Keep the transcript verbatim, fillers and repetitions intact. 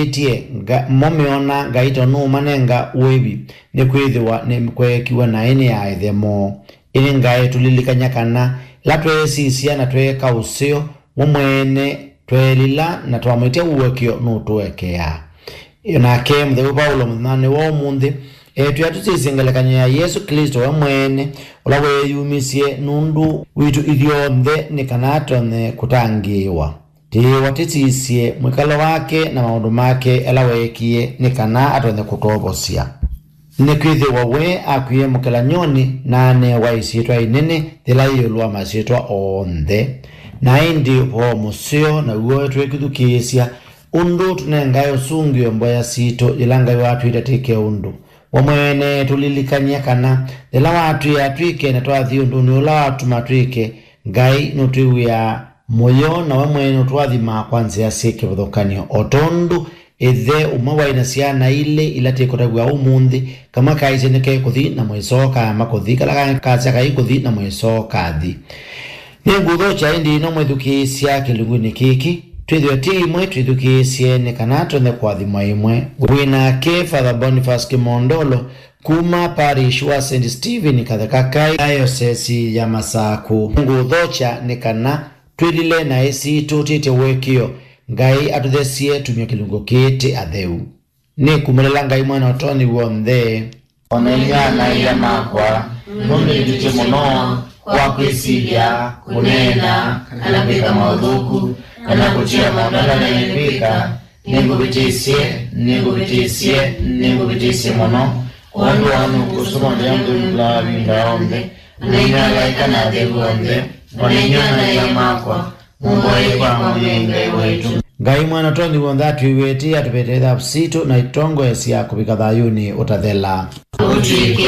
Ĩtye nga-, mo meona Ngai ta nũũmanenga ũĩvi, nĩkwĩthĩwa nĩkweekiw'e naĩ nĩ aaĩthe moo. Ĩndĩ Ngai tũlilikany'a kana ĩla tweesisya na tweeka ũseo, we mwene tweelila na twamwĩtya ũekeo nũtũekeaa. Nake mũtheu Vaulo mũthenyanĩ wa ũmũnthĩ etwĩa tũsisye ngelekany'o ya Yesũ Klĩsto we mwene, ũla weeyumisye nũndũ witũ ithyonthe nĩ kana tũtonye kũtangĩĩwa. Tĩĩwa tĩsisye mwĩkalo wake na maũndũ make ala weekie nĩ kana atonye kũtwovosya. Nĩkwĩthĩwa we akwie mũkelany'onĩ na anewa ĩsyĩtwa ĩnene yĩla yĩ ĩũlũ wa masyĩtwa onthe. Na ĩndĩ ũvoo mũseo naw'o twĩkĩthukĩĩsya ũndũ tũnengae ũsũngĩo mboya sitũ yĩla Ngai watwĩta twĩke ũndũ. We mwene tũlilikany'a kana yĩla watwĩa twĩke na twathi ũndũnĩ ũla watũma twĩke, Ngai nũtwĩw'ĩaa mũyo na we mwene nũtũathimaa kwa nzĩa syĩ kĩvathũkany'o, o tondũ ĩthe ũmwe waĩ na syana ilĩ ila tĩkũtavw'a ũmũnthĩ, kamwe kaisye nĩkekũthi na mũĩsoo kaema kũthi, kala kangĩ kasya kaikũthi na mũĩsoo kathi. Nĩngũthokya ĩndĩ ĩno mwĩthukĩĩsya kĩlungunĩ kĩkĩ, twĩthĩwe ti imwe twĩthukĩĩsye nĩ kana tũnye kũathimwa ĩmwe. Wĩ nake Father Boniface Kĩmondolo kuma parish wa Saint Stephen Katheka Kai, Diocese ya Masakũ. Nĩngũthokya nĩ kana twĩlile naĩ sitũ twĩtye ũekeo, Ngai atũthesye tumye kĩlungu kĩĩ tĩ atheu. Nĩkumĩlĩla Ngai Mwene Ũtonyi W'onthe. O na inyuĩ ana-a-ia makwa, nũndũ nĩtwĩtye mũno kwa kwĩsilya, kũneena, kana kwĩka maũthũku, kana kũtia maũndũ ala naĩle kwĩka, nĩngũvĩtĩsye, nĩngũvĩtĩsye, nĩngũvĩtĩsye mũno. Kwondũ wa ũnyuku ũsu mũthenya nthũnũkĩlaa mavinda onthe, o na inyuĩ alaĩka na atheu onthe, o na inyuĩ ana-a-ia makwa, mũmboye kwa Mwene Ngai waitũ. Ngai Mwene Ũtonyi W'onthe atwĩw'ĩtĩe atũvetee thavu sitũ na ĩtongoesya kũvika thayũnĩ ũtathela. Ũtw'ĩke